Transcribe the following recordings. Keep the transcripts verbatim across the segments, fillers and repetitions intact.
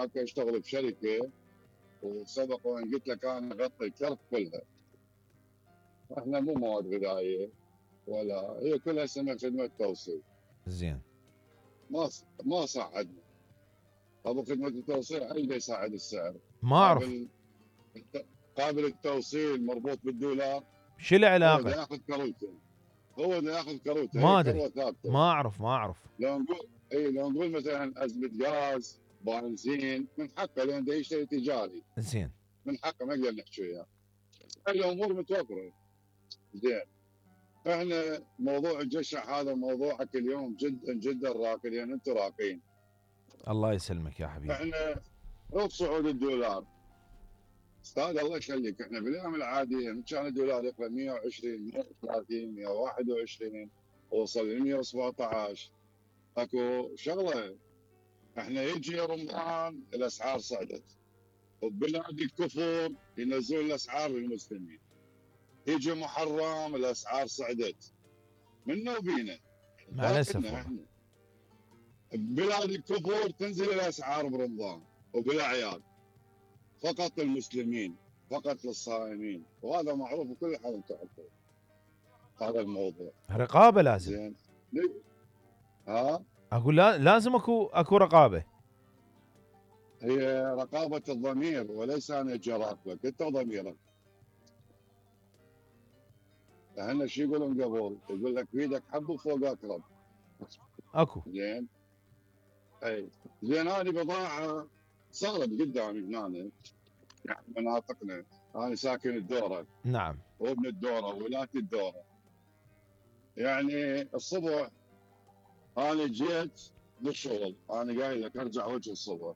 هناك اشتغل بشركه، وسبق وان قلت لك انا اغطي الكرت كلها. احنا مو مواد غذائيه ولا هي كلها سنه خدمه توصيل. زين. ما ما صعدنا. ابو خدمه التوصيل اللي يصعد السعر. ما اعرف. قابل قابل التوصيل مربوط بالدولار. شو العلاقه؟ هو ياخذ كروته. هو اللي ياخذ كروته. ما هي ادري. كروه ثابته. ما اعرف ما اعرف. لو نقول اي لو نقول مثلا ازمه غاز، بنزين، من حقه لان ده يشتري تجاري. زين. من حقه ما نقدر نحكي وياه. الامور متوفره. زين. احنا موضوع الجشع هذا موضوعك اليوم جدا جدا راقي، لان انتم راقين. الله يسلمك يا حبيبي. احنا رغم صعود الدولار استاذ الله يخليك، احنا بالايام العاديه من كان الدولار يقرا مئة وعشرين مئة وثلاثين مئة وواحد وعشرين وصل ل مئة وسبعطعش. اكو شغله، احنا يجي رمضان الاسعار صعدت، وبلاد الكفر ينزلون الاسعار للمسلمين. يجي محرم الاسعار صعدت. منا وبينا. مع الاسف. بلاد الكفر تنزل الاسعار برمضان وبالاعياد. فقط للمسلمين، فقط للصائمين، وهذا معروف بكل حال. انتم تعرفون هذا الموضوع. رقابه لازم. زين. ها؟ اقول لازم اكو اكو رقابه. هي رقابه الضمير، وليس انا اجي اراقبك، انت ضميرك. اهلنا شو يقولون قبل؟ يقول لك بيدك حب وفوق اقرب. اكو. زين. اي زين. هذه بضاعه صارت قدامي هنا، يعني مناطقنا. انا ساكن الدوره. نعم. وابن الدوره وولاد الدوره. يعني الصبح انا جيت بالشغل، انا قايل لك ارجع وجه الصبح.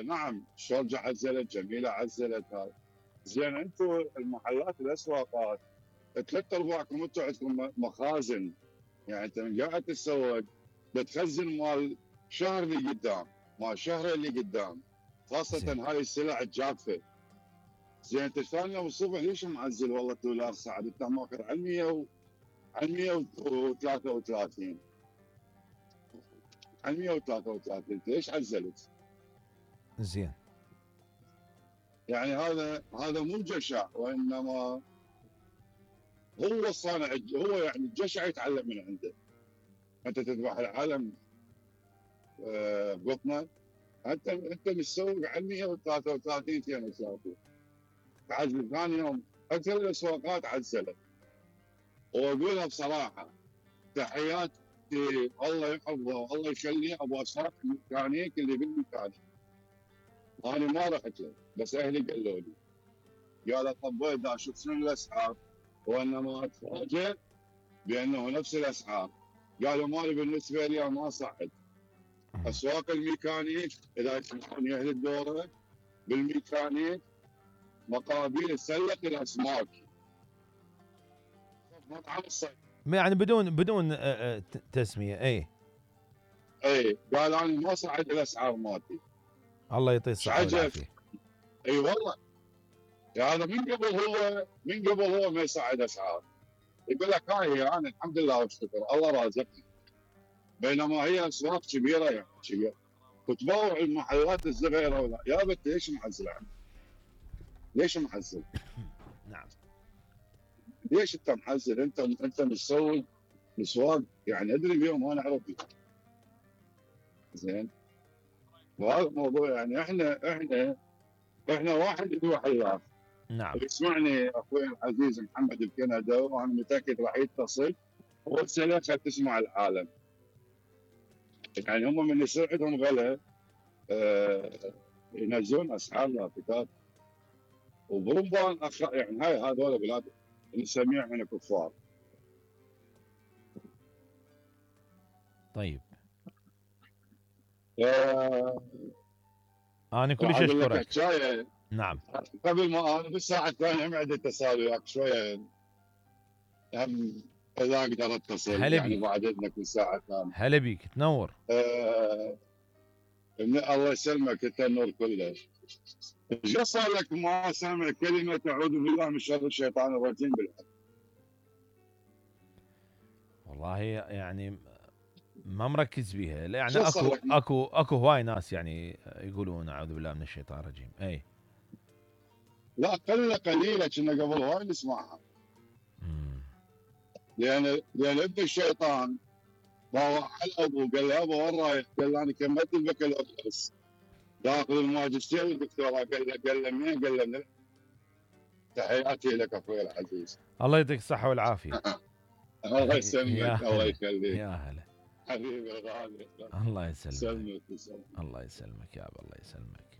نعم الشرجه عزلت، جميله عزلت. هذا زين. انتم المحلات الاسواقات ثلاث ارباعكم انتم عندكم مخازن، يعني انت من قاعد تتسوق بتخزن مال شهر اللي قدام، مال شهر اللي قدام، خاصه زين. هاي السلع الجافه. زين. انت ثاني يوم الصبح ليش معزل؟ والله الدولار صعد، انت ماخذ على مئة على مئة وثلاثة وثلاثين على مئة وثلاثة وثلاثين ليش عزلت؟ زين. يعني هذا هذا مو جشع، وانما هو الصانع. هو يعني الجشع يتعلم من عنده. انت تذبح العالم ببطنك. انت انت متسوق على مئة وثلاثة وثلاثين اثنين وثلاثين. تعزل ثاني يوم اكثر الاسواقات عزلت. واقولها بصراحه، تحياتي الله يحفظه والله يخليه ابو اسواق الميكانيك اللي بالميكانيك. انا ما رحت له، بس اهلي قالوا لي. قال طبيت دا اشوف شنو الاسعار، وانما اتفاجئ بانه نفس الاسعار. قالوا مالي بالنسبه لي ما صعد. اسواق الميكانيك اذا تسمعون يا اهل الدوره، بالميكانيك مقابيل تسلق الاسماك. مطعم الصيد. يعني بدون بدون تسميه. اي اي قال انا ما صعد الاسعار مالتي. الله يعطيه الصحه والعافيه. اي والله. يعني هذا من قبل هو من قبل هو ما يصعد اسعار. يقول لك هاي انا الحمد لله والشكر الله رازقني. بينما هي اسواق كبيره، يعني كبيره. وتبوع المحلات الصغيره ولا يا بنت ليش محزل عنه؟ ليش محزل؟ نعم. ليش انت محزل؟ انت انت مسوي مسواق، يعني ادري اليوم انا اعرف. زين. وهذا الموضوع يعني احنا احنا احنا واحد يذبح الله. نعم. يسمعني اخوي العزيز محمد بكندا، وانا متاكد راح يتصل وارسله خل تسمع العالم. يعني هم من يصير عندهم غلا آه ينزلون اسعار لافتات. وبرمضان أخ... يعني هاي هذول بلاد نسميهم احنا كفار. طيب. آه... انا كلش اشكرك. نعم. قبل ما انا بالساعه الثانيه ما عندي اتصال وياك شويه، هم اذا اقدر اتصل يعني بعد اذنك بالساعه الثانيه. هلا بيك تنور. آه... الله يسلمك انت النور كله. ايش صار لك ما سامع كلمه اعوذ بالله من شر الشيطان الرجيم بالحق؟ والله يعني ما مركز بيها. لا يعني شو صار اكو لك؟ اكو اكو هواي ناس يعني يقولون اعوذ بالله من الشيطان الرجيم. اي لا قله قليله كنا قبل هواي نسمعها. مم. لان لان ابن الشيطان باوع على ابوه قال له ابا وين رايح؟ قال له انا كملت البكالوريوس داخل الماجستير والدكتوراه. قال له قال له منين؟ قال له من تحياتي لك اخوي العزيز. الله يعطيك الصحة والعافية. الله يا يسلمك الله هلا يخليك يا هلا. حبيبي الغالي. الله يسلمك. يسلمك يسلمك. الله يسلمك يا ابا الله يسلمك.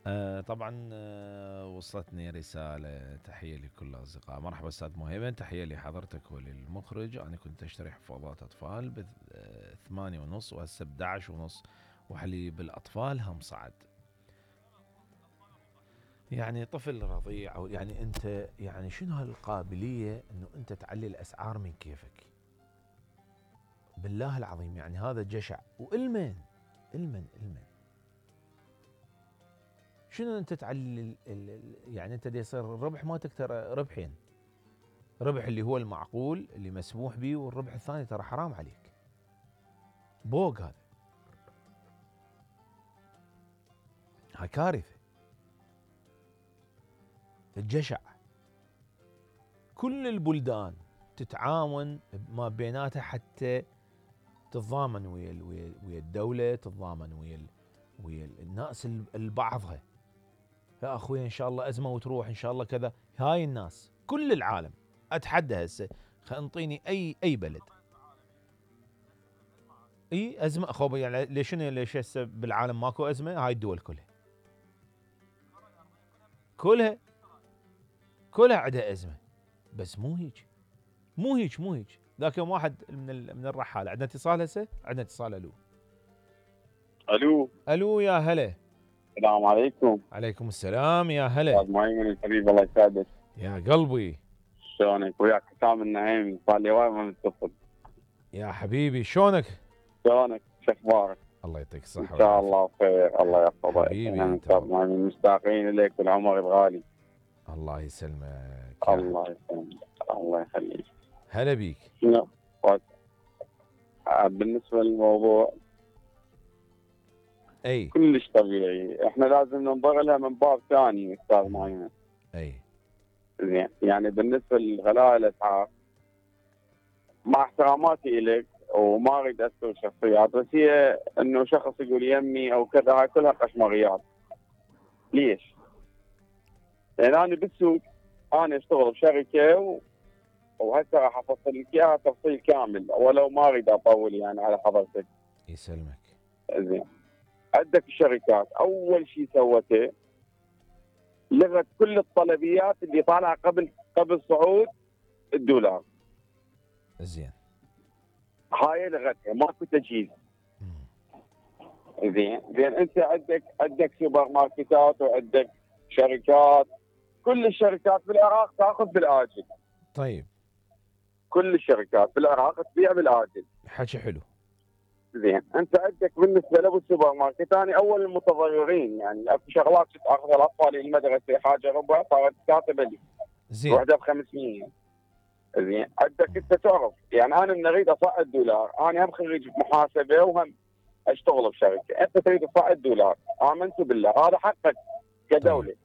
آه طبعا آه وصلتني رسالة تحية لكل الأصدقاء. مرحبا أستاذ مهيمن، تحية لحضرتك وللمخرج. أنا كنت أشتري حفاضات أطفال بثمانية ونص وهسه ب أحد عشر ونص وحليب الأطفال هم صعد. يعني طفل رضيع أو يعني أنت يعني شنو هالقابلية أنه أنت تعلي الأسعار من كيفك؟ بالله العظيم يعني هذا جشع. وإلمن إلمن إلمن شنو انت تعلي ال ال يعني انت دي يصير الربح مالتك ترى ربحين، ربح اللي هو المعقول اللي مسموح به، والربح الثاني ترى حرام عليك. بوق هذا، هاي كارثه. الجشع كل البلدان تتعاون ما بيناتها حتى تتضامن ويا ويا ويا الدوله، تتضامن ويا ويا الناس البعضها. يا اخوي ان شاء الله ازمه وتروح ان شاء الله كذا. هاي الناس كل العالم اتحدى هسه انطيني اي اي بلد اي ازمه اخو يعني ليش ليش هسه بالعالم ماكو ازمه؟ هاي الدول كلها كلها كلها عندها ازمه، بس مو هيك مو هيك مو هيك. ذاك يوم واحد من من الرحاله عندنا اتصال هسه، عندنا اتصال. الو الو الو يا هلا. السلام عليكم. عليكم السلام يا هلا. استاذ مهيمن الحبيب الله يسعدك. يا قلبي شلونك؟ وياك حسام النعيمي، صار لي وايد ما متصل. يا حبيبي شلونك؟ شلونك؟ شو اخبارك؟ الله يعطيك الصحة ان شاء الله بخير، الله يحفظك. حبيبي احنا استاذ مهيمن مشتاقين اليك والعمر الغالي. الله يسلمك. الله يسلمك الله يخليك. هلا بيك. شنو؟ بالنسبه للموضوع اي كلش طبيعي، احنا لازم ننظر لها من باب ثاني استاذ مهيمن. اي زين، يعني بالنسبه لغلاء الاسعار، مع احتراماتي اليك وما اريد اذكر شخصيات، بس هي انه شخص يقول يمي او كذا، هاي كلها قشمريات. ليش؟ لان انا بالسوق انا اشتغل بشركه و... وهسه راح افصل لك اياها تفصيل كامل، ولو ما اريد اطول يعني على حضرتك. يسلمك. زين، عندك الشركات اول شيء سوته لغت كل الطلبيات اللي طالعه قبل قبل صعود الدولار. زين. هاي لغتها، ماكو تجهيز. زين زين انت عندك عندك سوبر ماركتات وعندك شركات، كل الشركات بالعراق تاخذ بالاجل. طيب كل الشركات بالعراق تبيع بالاجل. حكي حلو. زين، انت عندك بالنسبه لابو السوبر ماركت، انا اول المتضررين، يعني اكو شغلات اخذ الاطفال المدرسه حاجه ربع صارت كاتبه لي. زين. وحده ب خمسمية. زين، عندك انت تعرف يعني انا من اريد اصعد دولار، انا هم خريج محاسبه وهم اشتغل بشركه، انت تريد تصعد دولار، امنت بالله هذا حقك كدوله. طيب.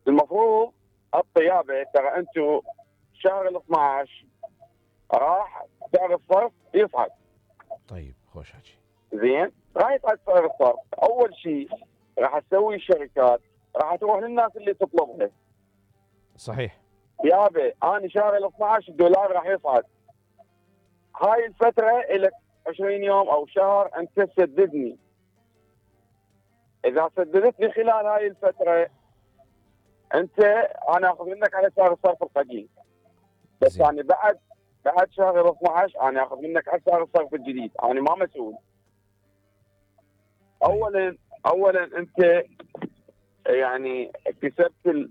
المفروض الطيابه ترى انتم شهر ال اثنعش راح سعر الصرف يصعد. طيب خوش حكي. زين، راح يصعد سعر الصرف، اول شيء راح تسوي الشركات راح تروح للناس اللي تطلبها. صحيح. يابا انا شهر ال اثنعش الدولار راح يصعد، هاي الفتره لك عشرين يوم او شهر انت تسددني. اذا سددت لي خلال هاي الفتره انت انا اخذ منك على سعر الصرف القديم، بس زي. يعني بعد بعد شهر ال اثنعش انا اخذ منك على سعر الصرف الجديد، انا ما مسؤول. اولا اولا انت يعني كسبت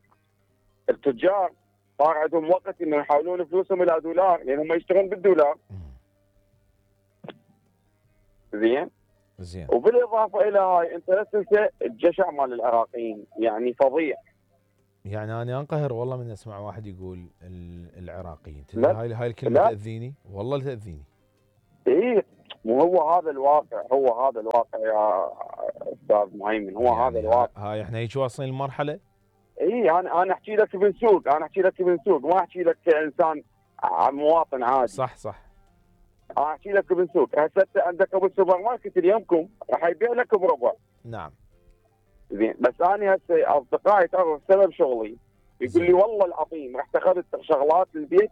التجار، صار عندهم وقت انه يحولون فلوسهم الى دولار لان هم يشتغلون بالدولار. زين؟ زين. وبالاضافه الى هاي انت لا تنسى الجشع مال العراقيين، يعني فظيع. يعني انا انقهر والله من اسمع واحد يقول العراقيين، هاي هاي الكلمه تاذيني والله تاذيني. اي مو هو هذا الواقع، هو هذا الواقع يا استاذ مهيمن، هو يعني هذا الواقع. هاي احنا هيك واصلين لمرحله. اي انا انا احكي لك ابن سوق، انا احكي لك ابن سوق، ما احكي لك كانسان مواطن عادي. صح صح. انا احكي لك ابن سوق. هسه عندك ابو السوبر ماركت اليومكم راح يبيع لك بربع. نعم. زين بس انا هسه اصدقائي تعرف سبب شغلي يقول لي والله العظيم رحت اخذت شغلات البيت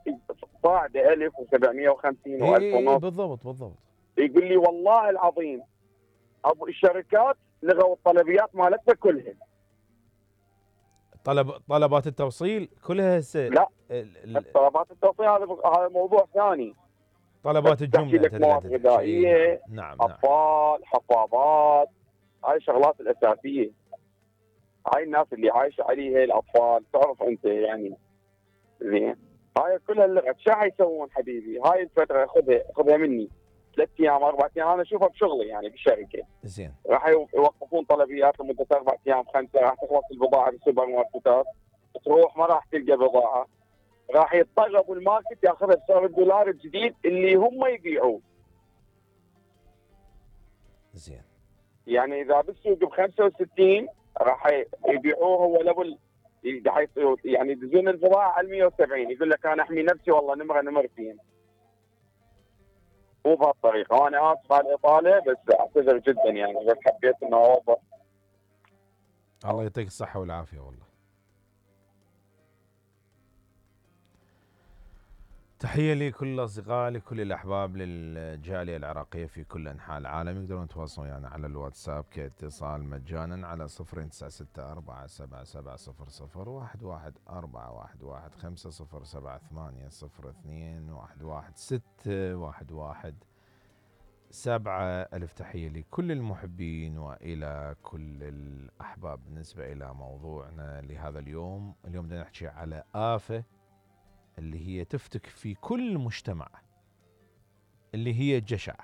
صاعده ألف وسبعمية وخمسين وألف ونص. بالضبط بالضبط. يقول لي والله العظيم ابو الشركات لغوا الطلبيات مالتنا كلها. طلب طلبات التوصيل كلها هسه. لا ال... طلبات التوصيل هذا هذا موضوع ثاني. طلبات الجمله لك مواد غذائيه، نعم اطفال، نعم. حفاضات، هاي الشغلات الاساسيه. هاي الناس اللي عايشه عليها الاطفال، تعرف انت يعني. زين هاي كلها اللغة شو حيسوون حبيبي؟ هاي الفتره خذها خذها مني ثلاث ايام اربع ايام انا اشوفها بشغلي يعني بالشركه. زين راح يوقفون طلبيات لمده اربع ايام خمسه، راح تخلص البضاعه بالسوبر ماركتات، تروح ما راح تلقى بضاعه، راح يضطر ابو الماركت ياخذها بسعر الدولار الجديد اللي هم يبيعوه. زين يعني اذا بالسوق ب خمسة وستين راح يبيعوه هو ليفل، يعني يدزون البضاعه على مية وسبعين، يقول لك انا احمي نفسي والله نمره نمرتين. مو بهالطريقه، وانا اسف على الاطاله بس اعتذر جدا يعني، بس حبيت انه اوضح. الله يعطيك الصحه والعافيه والله. تحية لكل الأصدقاء، لكل الأحباب، للجالية العراقية في كل أنحاء العالم. يقدرون يتواصلون يعني على الواتساب كاتصال مجانا على صفر تسعة ستة أربعة سبعة سبعة صفر صفر واحد واحد أربعة واحد واحد خمسة صفر سبعة ثمانية صفر اثنين واحد واحد ستة واحد واحد سبعة. ألف تحية لكل المحبين وإلى كل الأحباب. بالنسبة إلى موضوعنا لهذا اليوم، اليوم بدنا نحكي على آفة اللي هي تفتك في كل مجتمع، اللي هي الجشع.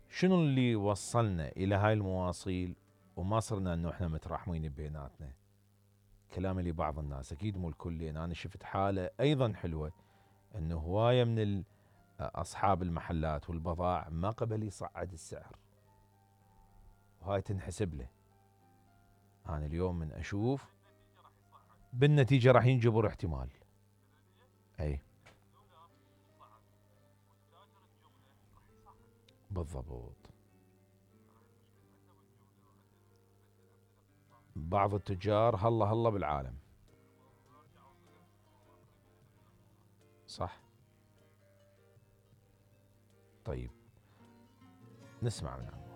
شنو اللي وصلنا إلى هاي المواصيل وما صرنا أنه إحنا متراحمين بيناتنا؟ كلام لبعض الناس، أكيد مو الكل، لأن أنا شفت حالة أيضا حلوة أنه هواية من أصحاب المحلات والبضائع ما قبل يصعد السعر، وهاي تنحسب له. أنا اليوم من أشوف بالنتيجة راح ينجبر احتمال. أي بالضبط. بعض التجار هلا هلا بالعالم. صح. طيب نسمع من عندك.